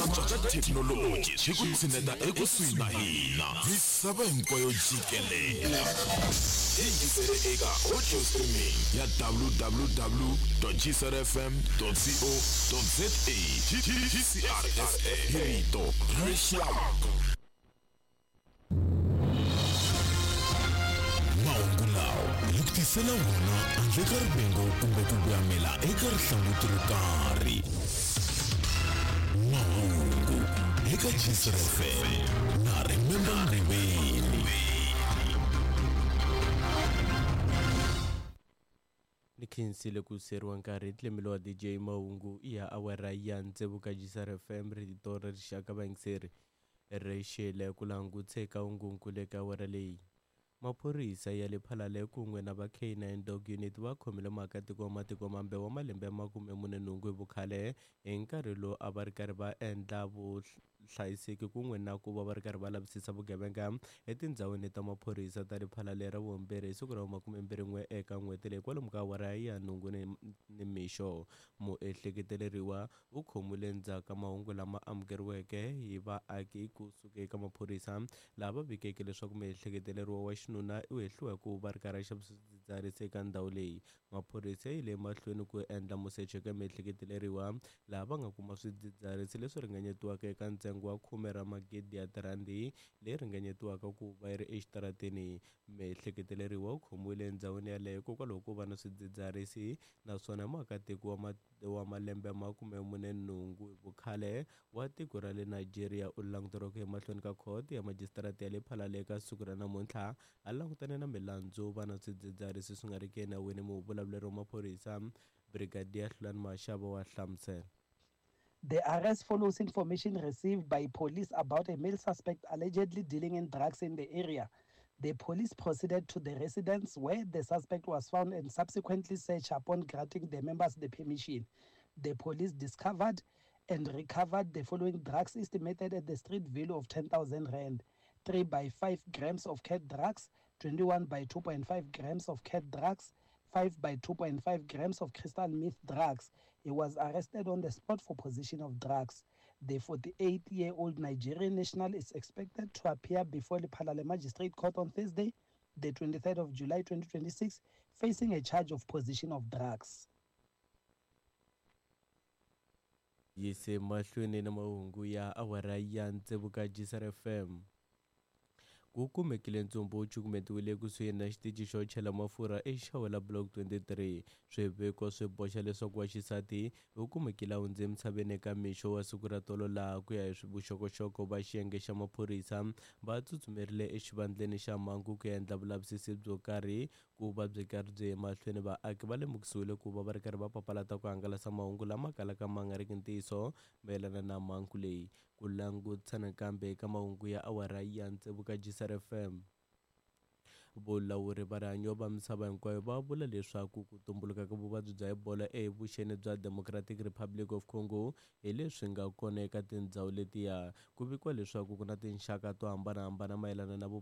Ku antswa ka thekinoloji swi ku tshineta ekusuhi na hina misava hinkwayo jikelele. Yingisele eka audio streaming ya www.gcrfm.co.za GCRFM hi rito ra rixaka. Mahungu lawa hi ku tisela wona handle ka rivengo kumbe ku voyamela eka rihlanguti ro karhi. Mahungu eka GCR FM na Remember Mriveni. Ni khensile ku siyeriwa nkarhi tlemelo wa DJ Mahungu ya awara ya tsevu ka GCR FM rito ra rixaka vayingiseri ri xile ku langutse ka ungunkulu eka awara leyi. Maphorisa ya le Phalale kun'we na va K9 Dog Unit va khomile muakatiko wa matiko mambe wa malembe ya 48 hi vukhale hi nkarhi lowu a va ri karhi va endla vuhlayiseki kun'we na ku va va ri karhi va lavisisa vugevenga etindhawini ta maphorisa ta le Phalale ra vumbirhi hi siku ra 21 eka n'hweti leyi kwalomu ka awara ya nhungu ni mixo. Muehleketeleriwa u khomiwile endzhaku ka mahungu lama amukeriweke hi vaaki kusuka eka maphorisa laha va vikeke leswaku muehleketeleriwa wa xinuna u hehliwa hi ku va ri karhi a xavisa swidzidziharisi eka ndhawu leyi. Maphorisa ya yile emahlweni ku endla musecho eka muehleketeleriwa laha va nga kuma swidzidziharisi leswi ringanyetiwaka eka ntsengo wa khume ra magidi ya tirhandi leyi ringanyetiwaka ku va yi ri exitarateni. Muehleketeleriwa u khomiwile endhawini yaleyo hikokwalaho ko va na swidzidziharisi naswona muakatiko wa wa malembe ya 48 hi vukhale wa tiko ra le Nigeria u languteriwa ku ya emahlweni ka khoto ya majisitarata ya le Phalale eka siku ra namuntlha a langutane na milandzu va na swidzidziharisi swi nga riki enawini. Muvulavuleri wa maphorisa Brigadier Hlulani Mashaba wa hlamusela. The arrest follows information received by police about a male suspect allegedly dealing in drugs in the area. The police proceeded to the residence where the suspect was found and subsequently searched upon granting the members the permission. The police discovered and recovered the following drugs estimated at the street value of 10,000 rand. 3 by 5 grams of cat drugs, 21 by 2.5 grams of cat drugs, 5 by 2.5 grams of crystal meth drugs. He was arrested on the spot for possession of drugs. The 48-year-old Nigerian national is expected to appear before the Lephalale Magistrate Court on Thursday, the 23rd of July 2026, facing a charge of possession of drugs. Yise mahlweni na mahungu ya awara ya tsevu ka GCR FM. Ku kumekile ntsumbu wu cukumetiwile ekusuhi na xitichi xo chela mafurha eXawela Block 23. Swiviko swi boxa leswaku wa xisati u kumekile a hundze emisaveni eka mixo wa siku ra tolo laha ku ya hi vuxokoxoko va xiyenge xa maphorisa va tsutsumerile exivandleni xa mhangu ku ya endla vulavisisi byo karhi ku va byi karhi byi emahlweni. Vaaki va lemukisiwile ku va va ri karhi va papalata ku hangalasa mahungu lama kalaka ma nga riki ntiyiso mayelana na mhangu leyi. Ku langutisa nakambe eka mahungu ya awara ya tsevu ka GCR FM. Vulawuri va rihanyo va misava hinkwayo va vula leswaku ku tumbuluka ka vuvabyi bya Ebola evuxeni bya Democratic Republic of Congo hi leswi nga kona eka tindhawu letiya. Ku vikiwa leswaku ku na tinxaka to hambanahambana mayelana na vuvabyi